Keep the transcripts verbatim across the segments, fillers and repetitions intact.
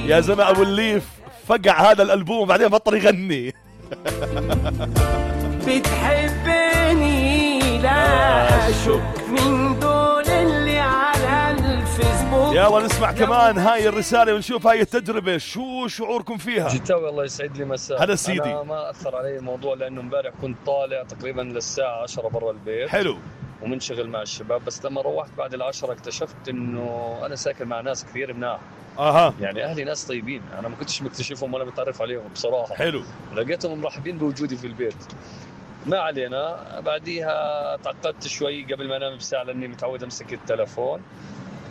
يا زلمة أبو الليف فقع هذا الألبوم وبعدين بطل يغني. بتحبني لا أشك من دول اللي على الفيسبوك. يلا نسمع كمان هاي الرسالة ونشوف هاي التجربة شو شعوركم فيها. جيتاوي الله يسعد لي مساء. هذا سيدي. أنا ما أثر علي الموضوع لأنه امبارح كنت طالع تقريبا للساعة عشرة برا البيت. حلو. ومنشغل مع الشباب، بس لما روحت بعد العشرة اكتشفت إنه أنا ساكن مع ناس كثير مناح. اها يعني اهلي ناس طيبين، انا ما كنتش مكتشفهم ولا متعرف عليهم بصراحه. حلو. لقيتهم مرحبين بوجودي في البيت. ما علينا، بعديها تعقدت شوي قبل ما انام بساعه لاني متعود امسك التلفون.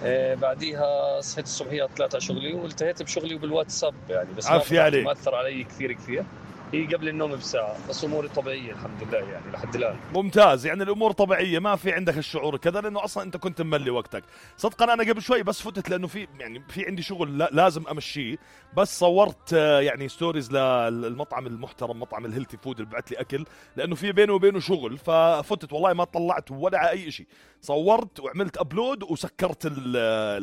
آه بعديها صحيت الصبحيه طلعت على شغلي والتهيت بشغلي وبالواتساب يعني، بس ما, ما اثر علي كثير كثير. هي قبل النوم بساعة، بس أموري طبيعية الحمد لله يعني لحد الآن. ممتاز، يعني الأمور طبيعية، ما في عندك الشعور كذا لأنه أصلا أنت كنت مملي وقتك. صدقا أنا قبل شوي بس فتت لأنه في يعني في عندي شغل لازم أمشيه، بس صورت يعني ستوريز للمطعم المحترم مطعم الهيلثي فود اللي بعت لي أكل، لأنه في بينه وبينه شغل، ففتت والله ما طلعت ولا على أي شيء. صورت وعملت أبلود وسكرت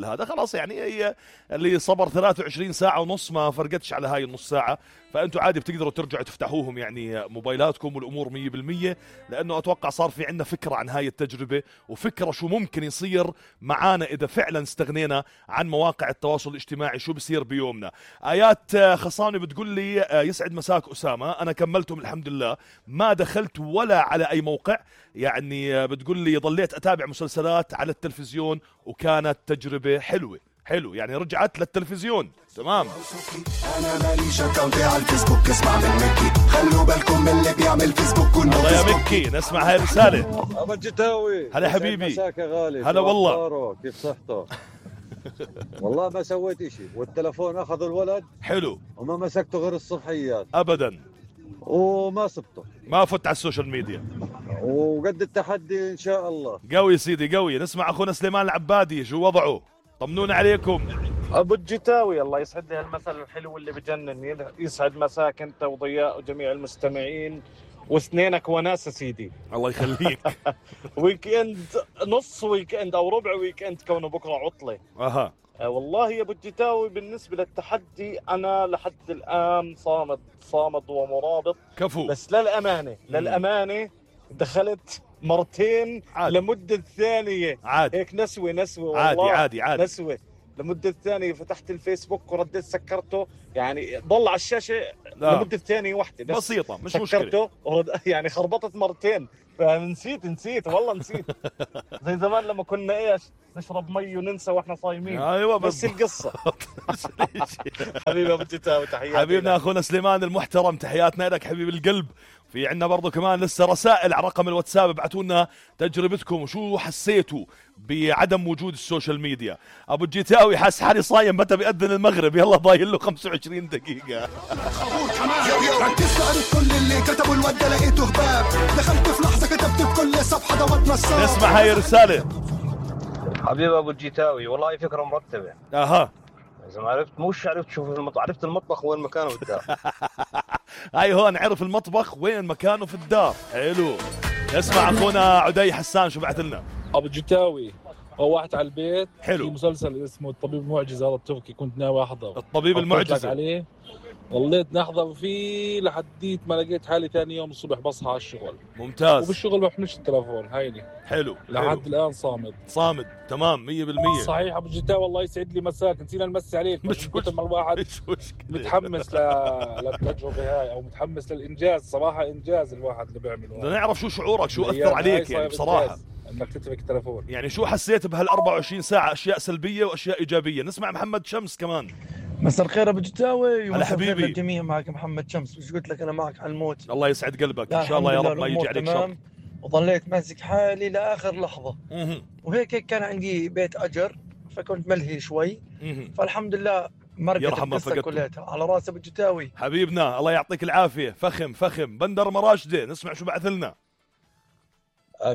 هذا خلاص. يعني هي اللي صبر ثلاثة وعشرين ساعة ونص ما فرقتش على هاي النص ساعة، فأنتوا عادي بتقدروا ترجعوا تفتحوهم يعني موبايلاتكم والأمور مية بالمية، لأنه أتوقع صار في عنا فكرة عن هاي التجربة وفكرة شو ممكن يصير معانا إذا فعلا استغنينا عن مواقع التواصل الاجتماعي، شو بصير بيومنا. آيات خصاني بتقول لي يسعد مساك أسامة، أنا كملتهم الحمد لله، ما دخلت ولا على أي موقع، يعني بتقول لي ضليت أتابع مسلسلات على التلفزيون وكانت تجربة حلوة. حلو، يعني رجعت للتلفزيون. تمام. انا ماليش اكونتي على الفيسبوك، اسمع من مكي، خلوا بالكم من اللي بيعمل فيسبوك. الله يا مكي، نسمع هاي الرسالة. ابو الجتاوي، هلا حبيبي. مساك يا غالي. هلا والله. كيف صحته؟ والله ما سويت اشي، والتلفون اخذ الولد. حلو. وما مسكته غير الصبحيات ابدا، وما سبته، ما فت على السوشيال ميديا، وقد التحدي ان شاء الله. قوي سيدي قوي. نسمع اخونا سليمان العبادي، شو وضعه؟ طمنونا عليكم. ابو الجتاوي الله يسعد لي هالمثل الحلو اللي بجنن، يسعد مساك انت وضياء وجميع المستمعين واثنينك وناس سيدي. الله يخليك. ويك اند، نص ويك اند او ربع ويك اند كونه بكره عطله. اها أه والله يا ابو الجتاوي بالنسبه للتحدي انا لحد الان صامد صامد ومرابط. كفو. بس للامانه للامانه دخلت مرتين عادي. لمده ثانيه عادي. هيك نسوه نسوه عادي والله عادي عادي نسوه لمده ثانيه. فتحت الفيسبوك ورديت سكرته، يعني ضل على الشاشه لا. لمده ثانيه واحده بس بسيطه مش مشكله. يعني خربطت مرتين فنسيت نسيت والله نسيت. زي زمان لما كنا ايش نشرب مي وننسى واحنا صايمين. ايوه بس القصه. حبيبي ابو الجتاوي تحياتي حبيبنا اخونا سليمان المحترم، تحياتنا لك حبيب القلب. في عنا برضو كمان لسه رسائل على رقم الواتساب، ابعتوا لنا تجربتكم وشو حسيتوا بعدم وجود السوشيال ميديا. ابو الجيتاوي حاس حالي صايم متى بيأذن المغرب، يلا ضايل له خمسة وعشرين دقيقة. ركزت قريت كل اللي كتبوا الود لقيته هباب، دخلت في لحظة كتبت بكل صفحة دوت نصاب. نسمع هاي الرسالة. حبيبي ابو الجيتاوي والله فكرة مرتبة. اها إذا ما عرفت مش عرفت شوف المطبخ، عرفت المطبخ وين مكانه في الدار. هاي هون عرف المطبخ وين مكانه في الدار. حلو. نسمع أخونا عدي حسان شو بعث لنا. أبو الجتاوي روحت على البيت. حلو. في مسلسل اسمه الطبيب المعجز هذا التركي كنت ناوي أحضر. الطبيب المعجز عليه، ضليت نحضر فيه لحديت ما لقيت حالي ثاني يوم الصبح بصحى على الشغل. ممتاز. وبالشغل ما بحملش التلفون هيني. حلو. لحد حلو. الآن صامد. صامد تمام مية بالمية. صحيح أبو الجتاوي والله يسعد لي مساك، نسينا نمسي عليك. مش كنت مع الواحد مش متحمس ل... للتجربة هاي أو متحمس للإنجاز. صراحة إنجاز الواحد اللي بيعمله. بدنا نعرف شو شعورك، شو أثر عليك يعني بصراحة انك تترك التلفون. يعني شو حسيت بهال أربعة وعشرين ساعة، اشياء سلبية واشياء ايجابية. نسمع محمد شمس كمان. مساء الخير ابو جتاوي. هلا حبيبي. الجميع معك محمد شمس، وش قلت لك انا معك على الموت. الله يسعد قلبك ان شاء الله يا رب ما يجي عليك شر. وظليت ماسك حالي لاخر لحظة. مه. وهيك كان عندي بيت اجر فكنت ملهي شوي. مه. فالحمد لله مرقت القصة كلها على راس ابو جتاوي. حبيبنا الله يعطيك العافية. فخم فخم. بندر مراشدة نسمع شو بعث لنا.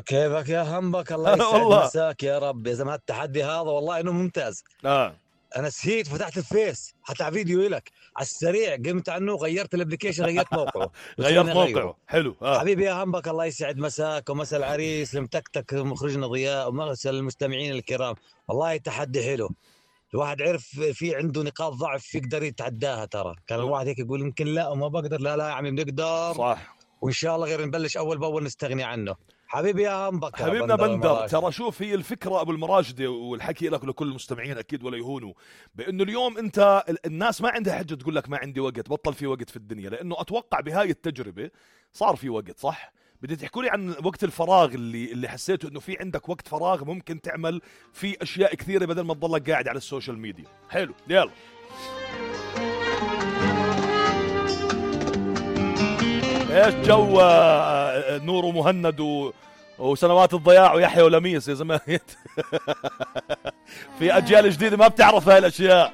كيفك يا همبك؟ الله يسعد مساك يا رب. يا زلمه التحدي هذا والله انه ممتاز. اه انا نسيت فتحت الفيس حتى على فيديو لك على السريع، قمت عنه غيرت الابلكيشن غيرت موقعه. غيرت موقعه. حلو. آه. حبيبي يا همبك الله يسعد مساك ومسا العريس المتكتك مخرجنا ضياء ومسا المستمعين الكرام. والله تحدي حلو. الواحد عرف في عنده نقاط ضعف يقدر يتعداها. ترى كان الواحد هيك يقول يمكن لا وما بقدر، لا لا يا عمي بنقدر، صح، وإن شاء الله غير نبلش أول بأول نستغني عنه. حبيبي يا همبك حبيبنا بندر, بندر. ترى شوف هي الفكرة أبو المراجدة، والحكي لك لكل المستمعين أكيد ولا يهونوا، بأنه اليوم أنت الناس ما عندها حجة تقول لك ما عندي وقت، بطل في وقت في الدنيا، لأنه أتوقع بهاي التجربة صار في وقت. صح؟ بدي تحكوا لي عن وقت الفراغ اللي اللي حسيته انه في عندك وقت فراغ ممكن تعمل فيه اشياء كثيره بدل ما تضلك قاعد على السوشيال ميديا. حلو، يلا. ايش جو نور ومهند و... وسنوات الضياع ويحيى ولميس يا زمان؟ في اجيال جديده ما بتعرف هاي الاشياء.